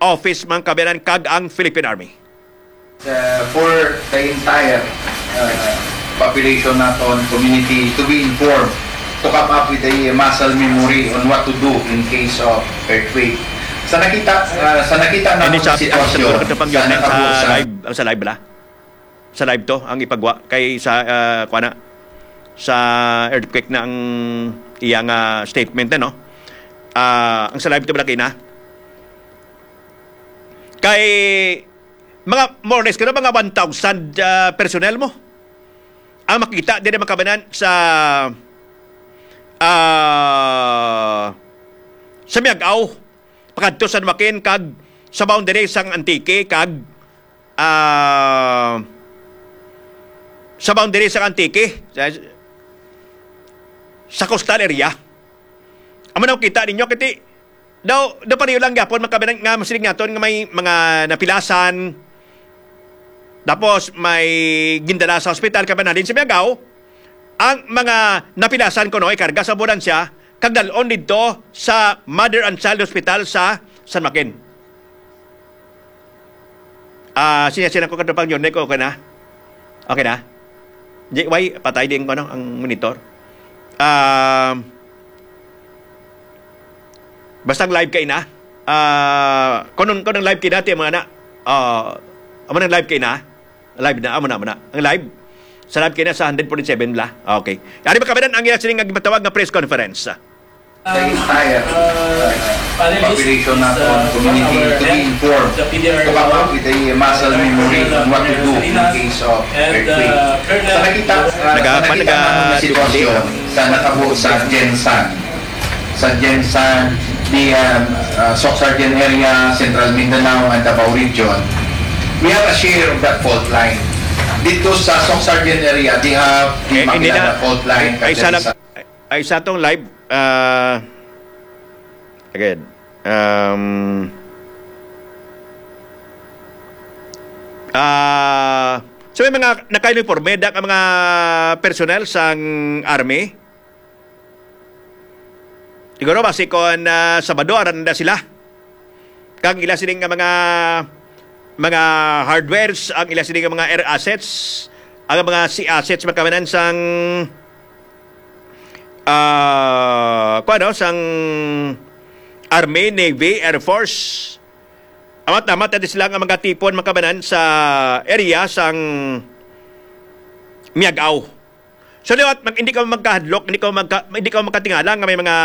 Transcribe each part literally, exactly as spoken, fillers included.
Office, mga kababayan, kag ang Philippine Army. Uh, for the entire, uh, population naton, community, to be informed, to come up with a muscle memory on what to do in case of earthquake. Sa nakita, uh, sa nakita na Hindi sa, ang sitwasyon, sa, sa live, ang sa live bala. Sa live to ang ipagwa kay sa, ah, kuan na, sa earthquake na ang iya nga statement, ano? Ah, ang sa live to bala kina kay mga more or less, kano, mga one thousand, ah, personnel mo ang makita diri, mga kababayan, sa, ah, sa Miag-ao, pakadto sa San Joaquin kag sa boundary sang Antique kag, ah, sa boundary sang Antique, sa, sa coastal area. Amo na kita ninyo, kiti daw, daw pareho lang gyapon, mga kababayan, nga masiling naton nga may mga napilasan, tapos may gindala sa ospital, kababayan, halin sa Miag-ao, ang mga napilasan kuno ikarga sa ambulansya kag dal-on didto sa Mother and Child Hospital sa San Joaquin. Ah, sinya, sinya ko kadto pang Yorne ko, okay na? Okay na? Di, why? Patay din ko, no, ang monitor. Um, basta ang live kay na. Ah, kung, kung ang live kay na, ti, mga na. Ah, amo nang live kay na. Live na, amo na, amo na. Ang live, sa live kay na sa hundred forty-seven bala. Okay. Ari, mga kababayan, ang iya sining nga gimatawag nga press conference. The entire, uh, population naton, community, to be informed, to come up with a muscle memory on what to do in case of earthquake. Sa nakita, uh, sa Naga-, nakita naga-, naman nga sitwasyon sa natabo sa Gensan, sa Gensan, the, um, uh, Soccsksargen area, Central Mindanao, and Davao Region, we have a share of that fault line. Dito sa Soccsksargen area, they have the Eh, hindi Maguindanao na. Fault Line, Ay, isa lang, Cadiza. Ay, sa atong live, ah, again, um, ah, so may mga naka-uniforme, da ka mga personnel sang army. Siguro basi kon, ah, Sabado, aran na sila. Kag ila sini nga mga, mga hardwares, ang ila sini nga mga air assets, ang mga sea assets, mga kababayan, sang, ah, kuwan, no, sang Army, Navy, Air Force. Amat-amat na sila nga mga tipon, mga kababayan, sa area sang Miag-ao. So, liwat, mag-, hindi ka magkahadlok, hindi ka magka-, hindi ka magkatingala nga may mga,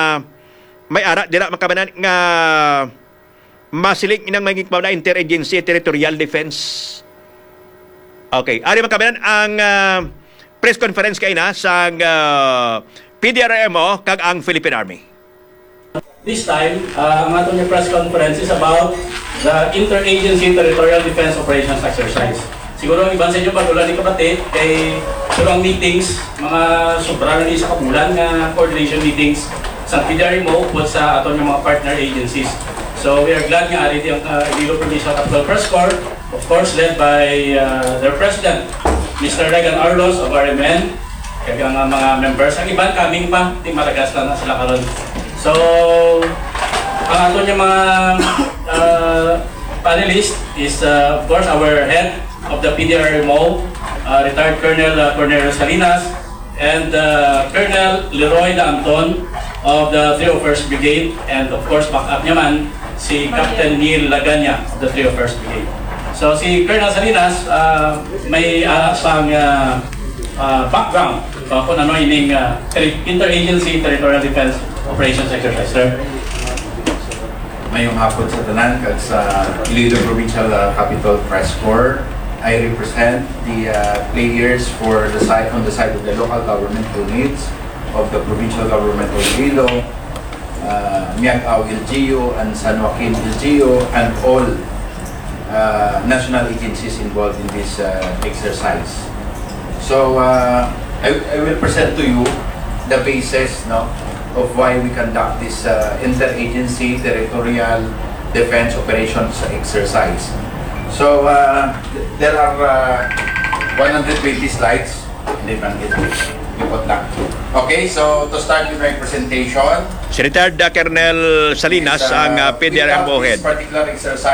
may ara dira, mga kababayan, nga masiling inang maging pa na interagency territorial defense. Okay. Ari, mga kababayan, ang, ah, press conference kay na sang, ah, P D R M O kag ang Philippine Army. This time, ah, ang aton nga press conference is about the Interagency Territorial Defense Operations Exercise. Siguro ang iban sa inyo, pag wala ni kabati, kay pero ang meetings, mga sobra na ni sa kabulan nga coordination meetings sa P D R M O upod sa aton nga mga partner agencies. So, we are glad nga ari di ang, ah, Iloilo Provincial Capital Press Corps, of course, led by, ah, their president, Mister Regan Arlos of R M N, kag ang, ah, mga members. Ang iban, coming pa, di maragas na, na sila karon. So, ang aton nga mga, ah, panelist is, uh, of course, our head of the P D R M O, uh, retired Colonel, uh, Cornelio Salinas, and, uh, Colonel Leroy Daanton of the three oh first Brigade, and of course, backup niya man, si Captain Neil Laganya of the three oh first Brigade. So, si Colonel Salinas, uh, may, uh, sang, uh, uh, background, uh, kung ano ining, uh, terri-, Interagency Territorial Defense Operations Exercise, sir. Mayong hapon sa tanan kag sa Iloilo Provincial, uh, Capitol Press Corps. I represent the, uh, players for the side, on the side of the local government units of the provincial government of Iloilo, uh, Miag-ao L G U and San Joaquin L G U, and all, uh, national agencies involved in this, uh, exercise. So, uh, I, I will present to you the basis, no, of why we conduct this, uh, interagency territorial defense operations exercise. So, uh, th-, there are, uh, one hundred twenty slides. Hindi man, hindi. Lipot lang. Okay, so to start with my presentation, Si retired, uh, Colonel Salinas, is, uh, ang, uh, P D R M O head. This particular exercise